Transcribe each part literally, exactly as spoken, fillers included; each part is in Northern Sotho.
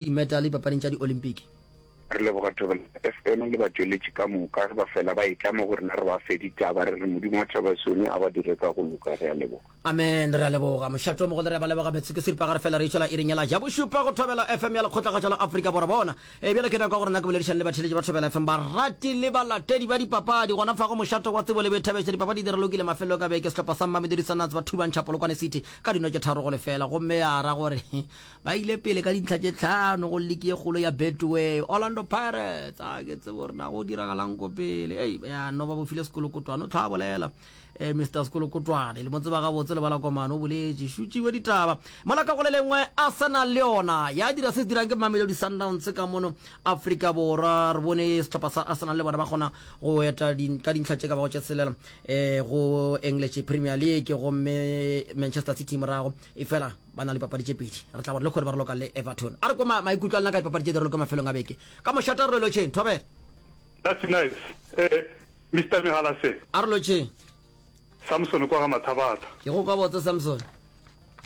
Dimetale dipapading tša Diolimpiki. Re leboga Thobela F M le batšweletši ka moka ge ba fela ba etla mo go rena re ba fe ditaba re re Modimo wa Thaba Sione a ba dire ka go loka. Re a leboga. Amen re a leboga mošate o mogolo re a ba leboga metsotso ke seripagare fela re itšwela iring yela ya bošupa go Thobela F M ya Lekgotlakgašo la Afrika Borwa bona e bjale ke nako ya gore nna ke boledišane le batheeletši ba Thobela F M barati le balatedi ba dipapadi gona fa go mošate wa tsebo le boithabišo dipapadi di ralokile mafelelong a beke sehlopha sa Mamelodi Sundowns ba thubantšha Polokwane City ka dino tše tharo go lefela gomme ya ra gore Ba ile pele ka dintlha tše tlhano go liki ye kgolo ya Betway. Orlando Pirates, a ke tsebe gore na go diragalang ko pele. Ei, ya no ba bofile sekolokotwane, o tlhwa a bolela. Eh, Mister Sekolokotwane, le mo tseba gabotse le balakomane, o boletše. Šutšiwe ditaba. Mola ka go le lengwe, Arsenal le yona ya dira se se dirang ke Mamelodi Sundowns ka mono Afrika Borwa. Re bone sehlopha sa Arsenal le bona ba kgona go eta ka dintlha tše ka bago tše tshelela eh, go English Premier League, gomme Manchester City morago. Efela ba na le dipapadi tše pedi. Re tla gore lehono ba raloka le Everton. A re kwe maikutlo a lena ka dipapadi tše di raloka mafelong a beke. Ka mošate a re lotšheng. Thobela. That's nice. Eh, Mister Megalase. A re lotšheng. Samson kwa ga Mathabatha. Ke go kwa botse Samson.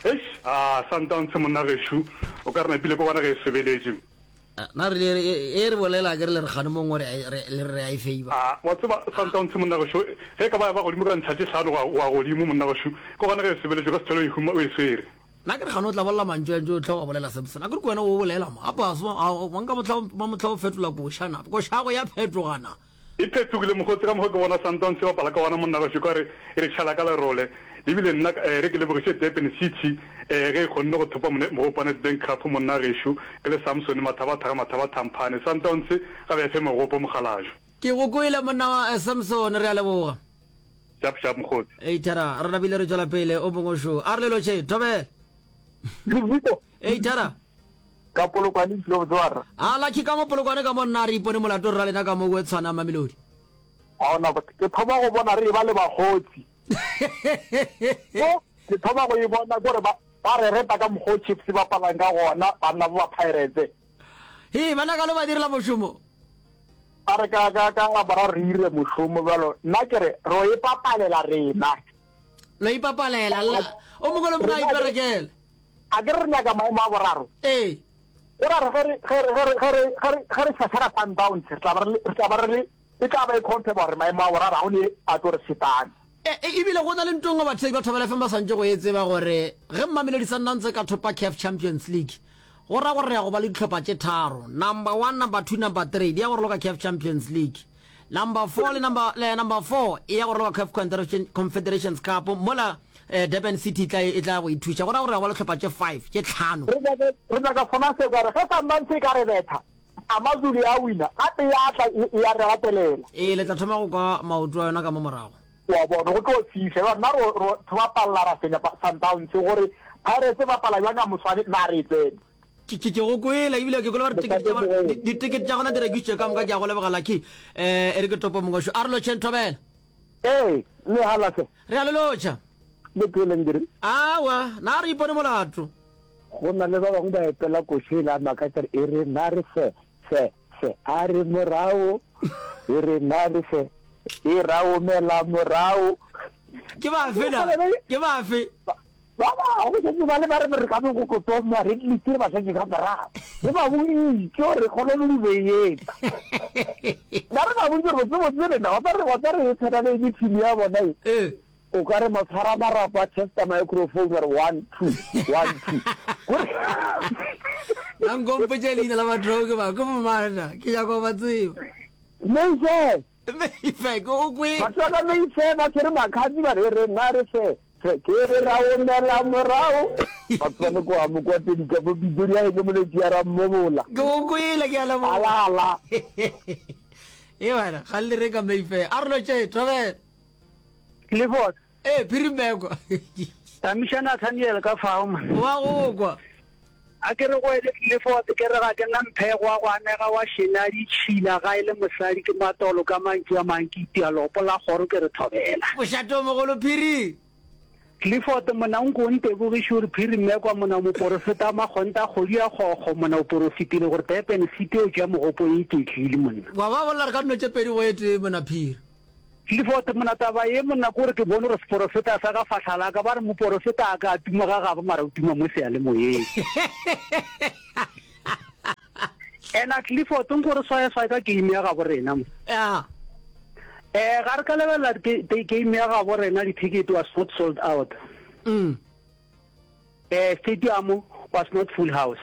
Eish, ah, Sundowns monna gešo, o ka re napile ko gona ge e sobeletše. Na re le e re bolela ke re le re kgane mongwe re le re a e favor. A wa tseba Sundowns monna gešo ge e ka ba ya ba godimo ka ntlha tše hlano go ya godimo monna gešo ke gona ge e sobeletše ka se hlole o e huma o e swere. Nna ke re kgane o tla bolela mantšu a ntše o tlhoka bolela Samson a ke re ke wena o bolela mo gape a se wa nka mohla wa mohla o fetola koša na koša yago ya phetoga na. E phetogile mokgotsi ka mokgwa ke bona Sundowns e bapala ka gona monna gešo ekare e re tšhela ka lerole ebile nna re ke lebogiše Durban City ge e kgonne go thopa mogopo wa Nedbank Cup monna gešo ke le Samson Mathabatha ga Mathabatha Mphane Sundowns ga ba e fe mogopo mokgalajwe. Ke go kwele monna wa Samson re a leboga. Sharp sharp mokgotsi. Ei thara re napile re tšwela pele o mongwe šo a re le lotšhe thobela. Levito. Ei thara. Ka Polokwane ke tlile go tseba rra. A Lucky ka mo Polokwane ka mo nna re ipone molato rra lena ka mo o tshwana Mamelodi. A ona ke thoma go bona re eba le bakgotsi. Mo ke thoma go e bona gore ba ba re reta ka mokgwa o Chiefs e bapalang ka gona banna ba ba Pirates. Hee bana ka lo ba direla mošomo. Ba re ka ka ka Laboraro re ire mošomo bjalo nna ke re ro e papalela rena. Lo ipapalela la o mongwe le mongwe a iperekele. A ke re re nyaka maemo a boraro? Ee. Go ra re ge re, ge re, ge re, ge re, ge re, ge re šašara Sundowns, re tla ba re le, re tla ba re le, e tla ba e confirma gore maemo a boraro ga go ne a tlo re fetang. E, e, ebile go na le nto nngwe batheetši ba Thobela F M ba swantše go e tseba gore ge Mamelodi Sundowns e ka thopa CAF Champions League, go ra gore re ya go ba le dihlopha tše tharo, number one, number two, number three, di ya go raloka CAF Champions League. Number four le number, le number four e ya go raloka CAF Confederation, Confederations Cup, mola eh, Durban City e tla, e tla go ithuša. Go ra gore re ya go ba le hlopha tše five, tše tlhano. Re nyaka, re nyaka sona se ka re ge Sundowns e ka re betha, Amazulu ya wina, gape ya tla e, e ya re latelela. Ee, le tla thoma go kwa maoto a yona ka mo morago. Wa bona, go tlo fiša. Jwale nna ro, ro bapalla ra fenya Sundowns, gore Pirates e bapala bjang ka moswane, na re e tsene. Ke, ke, ke go kwele, ebile ke kwele ba re tikete tša bona, di, ditikete tša gona di rekišitšwe ka moka. Ke a go leboga, Lucky. Eh, e re ke topo mongwe šo. A re lotšheng, Thobela. Ee, le halase. Re a le lotšha. Le pheleng ke re. Awa, na re ipone molato. Go na le ba bangwe ba epela koša e la makatša e re na re fe, fe, fe, a re morago, e re na re fe, e ra omela morago. Ke bafe na? Ke bafe? Ba bangwe šetše ba le ba re re ka be go ko tsoma re tlile re ba šetše ka morago. Re ba boditše gore re kgone le be etsa. Na re ba boditše gore botse botse lena wa tla re wa tla re tshwana le ke team ya bona e. Eh. O ka re matshwara marapo a testa microphone ba re one two one two. Na nko mpotše leina la batho ke ba ke bomana ke nyaka go ba tseba. Mayfair. Mayfair ke o kwe. Batho ba ka Mayfair ba tshwere makhadzi ba re re nna re fe. Fe ke re ra omela morago. Batho ba le kwa Mokwatedi ka mo Pitori ya ke moletši ya Rammobola. Ke o kwele ke a leboga. Ala ala. E wena ga le re ka Mayfair. A re lotše thobela. Clifford. Ee, Phiri Mmekwa. Tamiša Nathaniel ka fao man. Wa go kwa. A ke re go ele Clifford ke re ga ke na mphego wa go anega wa šena ditšhila ga e le mosadi ke matolo ka mantšu a mang ke itia lopo la kgoro ke re thobela. Mošate o mogolo Phiri. Clifford mona o nko o ntebogiše gore Phiri Mmekwa mona moporofeta wa makgontha kgodi ya kgokgo mona o porofetile gore Durban City o tšea mogopo e iketlile monna. Wa ba bolela re ka dino tše pedi go e tee mona Phiri. Clifford, Monna, taba ye, monna, ke gore ke bone gore seporofeta sa ka fahla la ka. Ba re moporofeta a ka a tuma ga gabo, mara o tuma mo seyalemoyeng. Ena Clifford nko re swayaswaye ka game ya gabo rena mo. Ya. Eh ga re ka lebelela game ya gabo rena di-ticket was not sold out. Mm. Eh stadium was not full house.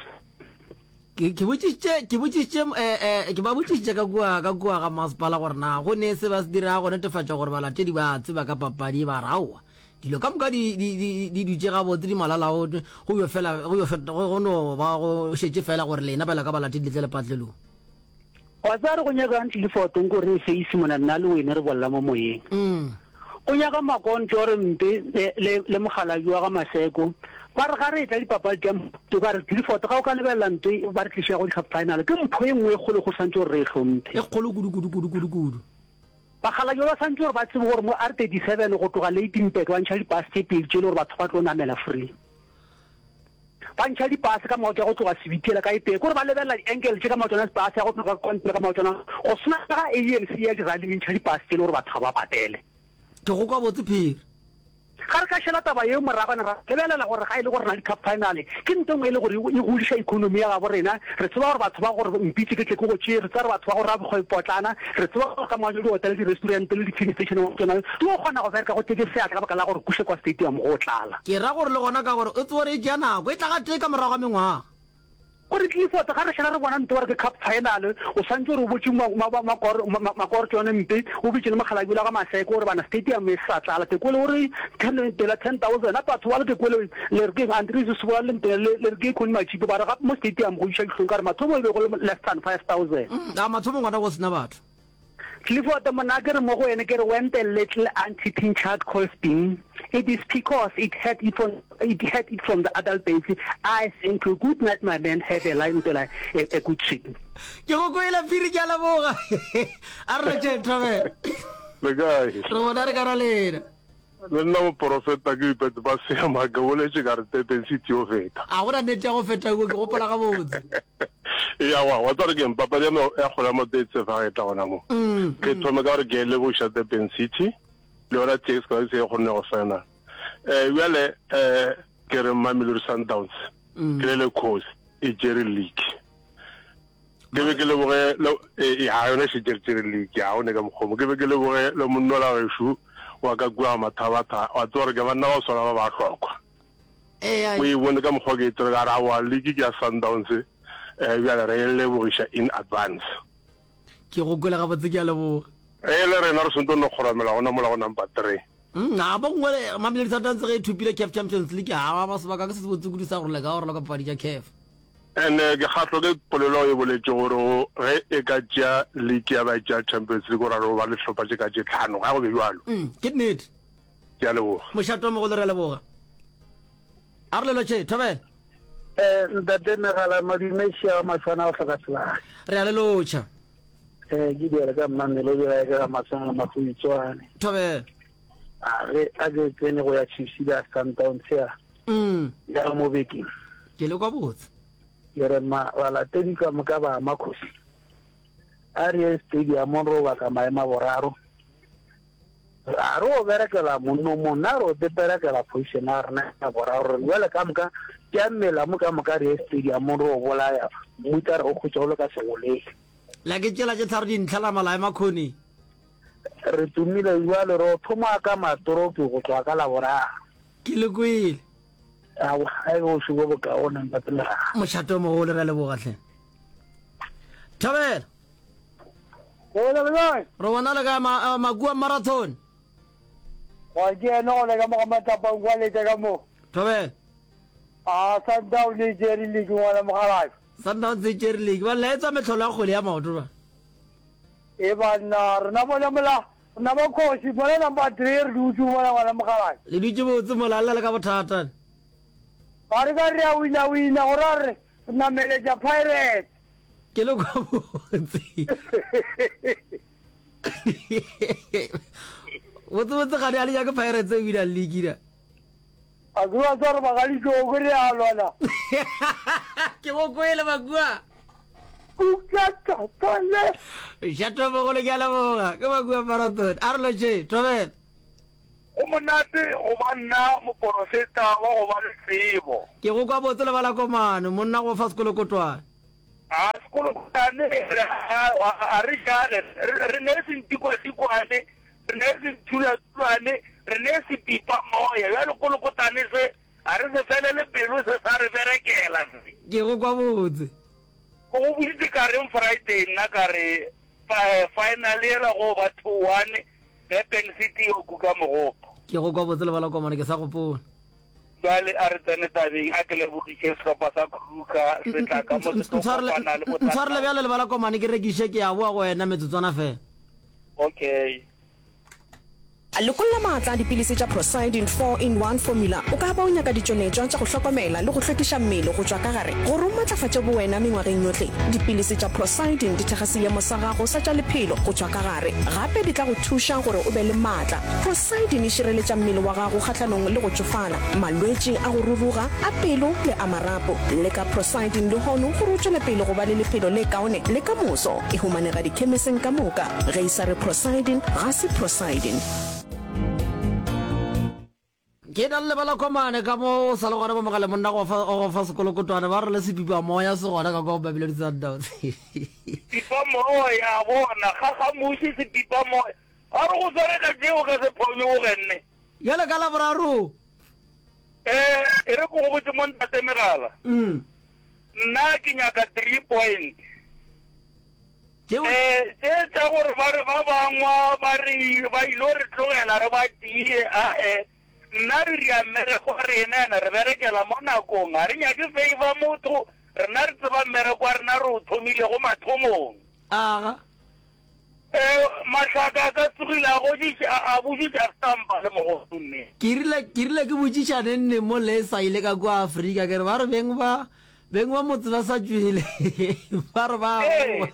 Ke ke botšišitše ke botšišitše eh eh ke ba botšišitše ka kua ka kua ga masepala gore na go ne se ba se dirago go netefatša gore balatedi ba tseba ka papadi ba re aowa dilo ka moka di di di di dutše gabotse di malalago go yo fela go yo feta go no ba go šetše fela gore lena bjalo ka balatedi le tle lepatlelong. Wa tseba re go nyakang Clifford nko re face mona nna le wene re bolla mo moyeng. Mm. Go nyaka Makonto re mpe le, le, le mokgalabje wa ga Maseko. Ba re ga re etla dipapadi tša mpho, ba re Clifford ga o ka lebelela nto e ba re tlišago di-cup final, ke mpho e nngwe e kgolo go swantše gore re e hlomphe. E kgolo kudu, kudu, kudu, kudu, kudu. Bakgalabje ba swantše gore ba tsebe gore mo R thirty seven go tloga Lydenburg ba ntšha di-bus tše pedi tše e le gore batho ba tlo namela free. Ba ntšha di-bus ka maoto ya go tloga Sebitiela ka e tee, ke gore ba lebelela di-angle tše ka maotwana a bus ya go tloga Kontle ka maotwana, go swana le ga A N C ya di-rally e ntšha di-bus tše e le gore batho ga ba patele. Ke go kwa botse Phiri. Ga re ka šala taba yeo morago ra lebelela gore ga e le gore re na le cup final, ke nto nngwe e le gore e godiša economy ya gabo rena. Re tseba gore batho ba gore mpitše ke tle ke go tšee, re tseba gore batho ba go rabokgwebopotlana, re tseba gore ka moajo dihotele, di-restaurant le di-filling station wa tšona di yo kgona go bereka go tletše seatla ka baka la gore kuše kwa stadium go tlala. Ke ra gore le gona ka gore o tsebe gore e tšea nako, e tla gatee ka morago ga mengwaga. Gore Clifford, ga re šala re bona nto ba re ke cup final, o swantše gore o botše Makorotšone mpe, o bitše le mokgalabje yola ga Maseko gore bana stadium e sa tlala. Ke kwele o re ten, tela ten thousand, gape batho bale ke kwele le re keng Andries Sebola le Ntena le re ke Connie Matšipo ba re gape mo stadium go iša dihlong ka gore mathomo e be go le less than five thousand. A mathomong gona go sena batho. Clifford, Monna ke re mo go wene ke re when the little anteating child calls Bing, it is because it heard it from, it heard it from the adult baby, I thank you, good night my man, have a line a, a good sleep. Ke go kwele Phiri ke a leboga. A re lotšheng Thobela. Le kae? Re bona re ka ra lena. Le nna moporofeta ke ipetse ba seema ke boletše ka re Durban City yo feta. A gona nnete ya go feta ko ke gopola gabotse. Ya wa wa tsare ke papadi ya ya kgwele ya maoto e tsefa ga e tla gona mo. Mm, Ke mm. thome ka gore ke leboša Durban City le yona T X Galaxy e kgonne go final. Eh bjale eh ke re Mamelodi Sundowns Mm. ke le le khosi e tšere league. Ke be ke leboge le e ya yona še tšere tšere league ya o ne ka mokgomo. Ke be ke leboge le monnola gešo wa ka kua Mathabatha wa tseba gore ke banna ba swana ba ba hlokwa. Eya. O e bone ka mokgwa ke e tsere ka re aowa league ke ya Sundowns eh bjale re e lebogiša in advance. Ke go kwele gabotse ke a leboga. E le rena re swanetše go no kgoramela gona mola go number three. Mm, a bo nngwe Mamelodi Sundowns ge e thopile CAF Champions League a ba sebaka ke se se botse kudu sa gore le ka gore ka papadi tša CAF. And ke kgahlwa ke polelo e boletše gore ge e ka tšea league ya ba e tšea Champions League gore re ba le hlopha tše ka tše tlhano ga go be bjalo. Mm, ke nnete. Ke a leboga. Mošato mogolo re a leboga. A re lelo tše, thobela. Eh, ntate Megala madume šia wa maswana go hloka sebaka. Re a le lotšha. Eh, ke diela ka mmamelo dira ke ga maswana mafuitswane. Thobela. A re a ke tsene go ya Chiefs le ya Sundowns ya. Mm. Ya mo bekeng. Ke le kwa botse. Ke re ma balatedi ka moka ba Makhosi. A re ye stadium ro baka maemo a boraro. A re o berekela monno monna re o peperekela position ya rena ya boraro. Re jwale ka moka ke a mmela mo ka moka re ye stadium ro bolaya mmutla re o kgotsa o le ka segoleng. La ke tšela tše tharo dintlha la malae makhoni. Re tumile jwale re o thoma ka matropi go tloga ka laboraro. Ke le kwele. Aowa, a e be bošego bo bokaone ntate Lerala. Mošato o mogolo, re a leboga hle. Thabela. Gole le kae? Re bona le kae ma, Makua Marathon? Ga ke ene gole ka mo ga matlapang kwa lete ka mo. Thobela. A Sundowns e tšere league ngwana mokgalabje. Sundowns e tšere league. Ba laetsa mehlolo ya kgwele ya maoto ba. E banna, rena bona mola, rena ba khosi, mola number three re dutše mola ngwana mokgalabje. Le dutše botse mola le le ka bothata. Ga re ka re a wina wina go ra re nameletša Pirates. Ke le kwa botse. Botse botse ga di a le nyake Pirates e wina league na. A ke ba tswa re bagalitšoko re a lwana. Ke go kwele Makua. Kukakakale. Šato mogolo ke a leboga. Ke Makua Marathon. A re lotše, thobela. Go monate go ba nna moporofeta wa go ba le tsebo. Ke go kwa botse lebala komano, monna go fa sekolokotwane. A sekolokotane a re jale, re ne se ntikwatikwane, re ne se nthulatulwane, re ne se pipa moya. Bjale kolokotane se a re se felele pelo, se sa re berekela se. Ke go kwa botse. Ke go boditše ka reng Friday nna ka re final yela go ba two one Durban City yo kuka mogopo. Ke go kwa botse lebala komane ke sa gopola. Bjale a re tsene tabeng, a ke lebogiše sehlopha sa Kruger se tla ka mo se tlo kopana le bo Ntshwarele bjale lebala komane ke rekiše ke a boa go wena metsotswana fela. Okay. Lekolla maatla a dipilisi tša Procyldin four in one Formula. O ka ba o nyaka ditšweletšwa tša go hlokomela le go hlwekiša mmele go tšwa ka gare gore o matlafatše bowena mengwageng yohle. Dipilisi tša Procyldin di thekga seemo sa gago sa tša lephelo go tšwa ka gare. Gape di tla go thuša gore o be le maatla. Procyldin e šireletša mmele wa gago kgahlanong le go tšofala, malwetši a go ruruga, a pelo le a marapo. Leka Procyldin lehono gore o tšwele pele go ba le lephelo le kaone le ka moso. E humanega dikhemiseng ka moka. Ge e sa re Procyldin, ga se Procyldin. Ke na le lebala komane ka mo o sa le gona mo mogale monna go fa go fa sekolokotwane ba re le sepipa moya se gona ka kwa Mamelodi Sundowns. Pipa moya bona ga ga muši sepipa moya a re go sware ka tšeo ka se phonyoge nne. Bjale ka Laboraro. Eh e re ko go botse mo ntate megala. Mm. Nna ke nyaka three point. Tšeo Eh tše tša gore ba re ba bangwa ba re ba ilo re tlogela re ba tie ae nna re ria mmereko wa rena ene re berekela mo nakong ga re nyake favor motho rena re tseba mmereko wa rena re o thomilego mathomong. Aga. Eh Mahlaka a ka tsogile a godiša a botšiša stampa le mogodu mme. Ke rile ke rile ke botšiša neng neng mo le sa ile ka kua Afrika ke re ba re beng ba beng ba motse ba sa tšwele ba re ba Ee,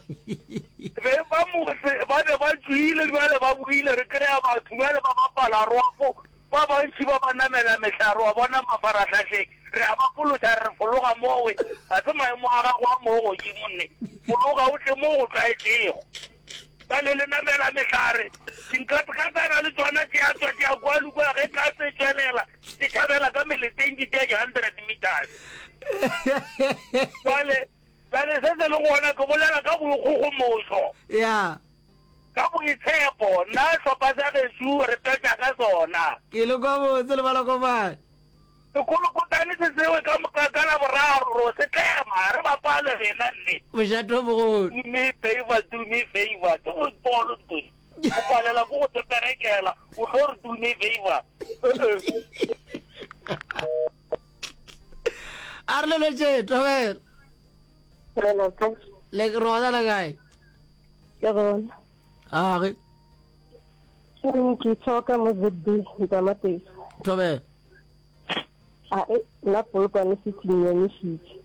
beng ba motse ba be ba tšwile bjale ba boile re kry-a batho bjale ba bapala rwafo ba bantši ba ba namela mehlare wa bona mafarahlahleng re a ba fološa re re fologa mowe ga se maemo a gago a moo godimo nne fologa o tle mo go tlwaetšego bjale le namela mehlare dinkatsana le tšona tše a tšwa tša kwa le kua ge katse e tšwelela di tšhabela ka meleteng di tšea di-hundred meters bjale bjale se se le gona ke bolela ka boikgogomošo ya ka boitshepo nna hlopha sa gešo re petša ka sona ke le kwa botse le balakomane sekolokotane se sewe ka moka ka Laboraro ro se tlema re bapale rena nne mošate o mogolo do me favor do me favor ke football ntwe o palela ko go teperekela o tlo re do me favor a re leletše thobela le rona le kae Ke gona. age Ke re ke tshoka mo Z B Ntamatesi. thobela A e nna Polokwane City nyamišitše.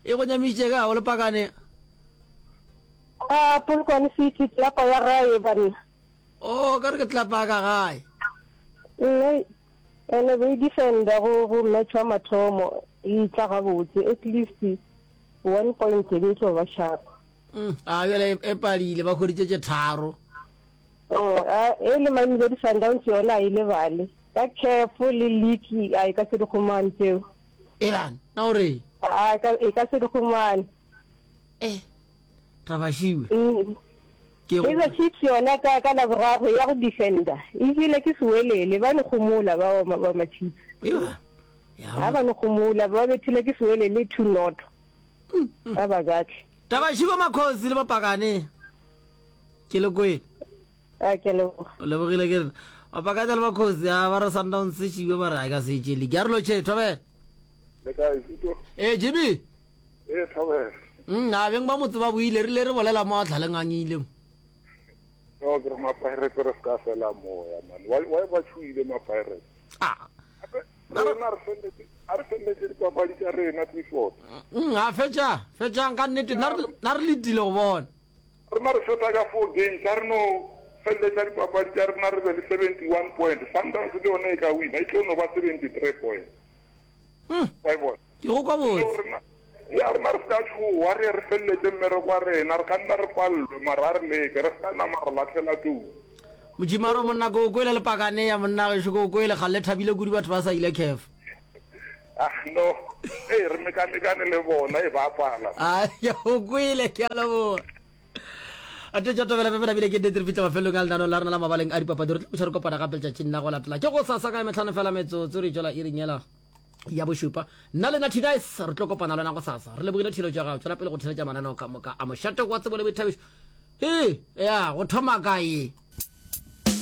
E go nyamišitše ka o le pakane? A Polokwane City tlelapa ya gae banna. Oh, ka re ke tlelapa ya ka gae. Nne ene be e defender go go match wa mathomo e tla gabotse at least one point e be e tlo ba sharp. Mm, a bjale e padile ba hweditše tše tharo. Oh, a e le Mamelodi Sundowns yona a e lebale. Ka CAF le league a e ka se di humane tšeo. Elan, na o reng? A e ka e ka se di humane. Eh, Trabašiwe. Mm. Ke go Kaizer Chiefs yona ka ka Laboraro ya go defender. E jele ke Sewelele ba no gomola ba ba ba ma Chiefs. Ewa. Ya. Ha ba no gomola ba bethile ke Sewelele two not. Ba ba katle. Tabašiwe Makhosi le Bapakane. Ke le kwele. A ke leboga. O lebogile ke rena. Bapakane le Makhosi a ba re Sundowns se šiwe ba re a ka se tše league. A re lo tše thobela. Le kae Zito? Eh Jimmy. Eh thobela. Mm, a beng ba motse ba buile rile re bolela mo a tlhaleng a ngile mo. No ke re ma Pirates re ska fela moya man. Why why ba tšhuile ma Pirates? Ah. Rena re felletse a re felletse dipapadi tša rena Clifford. Mm, a fetša, fetšang ka nnete nna re nna re letile go bona. Rena re fetsa ka four games a re no felletša dipapadi tša rena re be le seventy one point. Sundowns le yona e ka wina e tlo no ba seventy three point. Mm. Wa e bona? Ke go kwa botse. So rena ya rena re ska tšhoa re re felletse mmereko wa rena re ka nna re palelwe mara a re leke re ska nama re latlhela tou. Mojimaro monna ko o kwele le pakane ya monna gešo ko o kwele kgale le thabile kudu batho ba sa ile CAF. Ah, no. Ee, re mekamekane le bona, e ba pala. A ya o kwele, ke a leboga. A tšwa tobela pepe nabile ke nnete re fihla mafelelong a lenaneo la rena la mabaleng a dipapadi re tlo buša re kopana gape letšatšing la go latela ke go sasa ka metlhano fela metsotso re tšwela iring yela ya bošupa nna le na Nice re tlo kopana le wena go sasa re lebogile theeletšo ya gago tšwela pele go theeletša mananeo ka moka a mošate wa tsebo le boithabišo ee ya go thoma kae